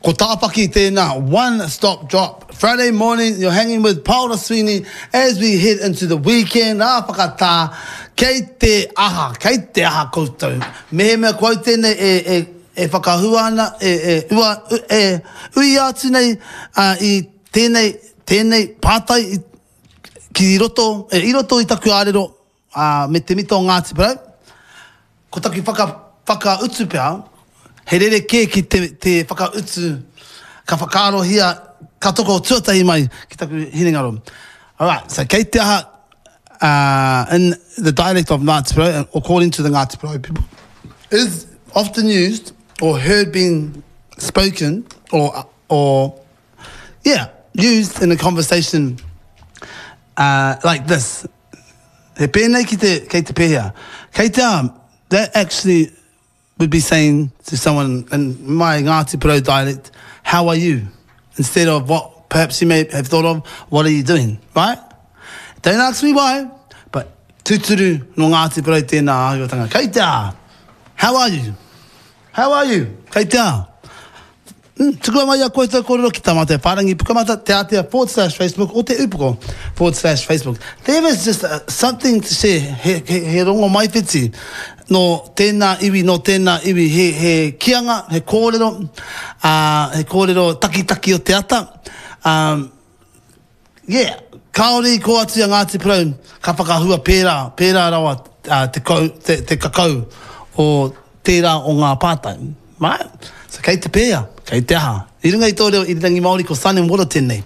Ko Tāwhaki tēnā, one stop drop. Friday morning, you're hanging with Paora Sweeney as we head into the weekend. Ā, whakatā, kei te aha, kei te aha koutou. Mehemea ko au tēnei e, e, e whakahua ana, e, e, ua, e, uia atu nei uh, i tēnei, tēnei pātai i, ki roto, e, i roto i taku ārero, ā, me te mita o Ngāti Porou. Ko taku whaka, whakautu pea, he rerekē ki te, te whakautu ka whakaarohia, ka toko tuatahi mai ki taku hinengaro. Alright, so kei te aha, uh, in the dialect of Ngāti Porou, according to the Ngāti Porou people, is often used or heard being spoken or, or yeah, used in a conversation uh, like this. He pēnei ki te, kei te pēhea. Kei te aha, that actually would be saying to someone in my Ngāti Porou dialect, how are you? Instead of what perhaps you may have thought of, what are you doing, right? Don't ask me why, but tūturu nō Ngāti Porou tēnā āhuatanga. Kei te aha, how are you? How are you? Kei te aha? Mm, tukua mai a koutou kōrero ki tā mātou whārangi pukamata, te ātea forward slash Facebook o te upoko forward slash Facebook. There is just uh, something to share, he, he, he rongo maiwhiti nō tēnā iwi, nō tēnā iwi, he, he kianga, he kōrero, uh, he kōrero takitaki o te ata. Um, Yeah, kāore i kō atu i a Ngāti Porou ka whakahua pērā, pērā rawa te kou, te, te kakau o tērā o ngā pātai. Right? So kei te pēa, kei te aha. I runga i tō reo irirangi Māori ko Sun and Water tēnei.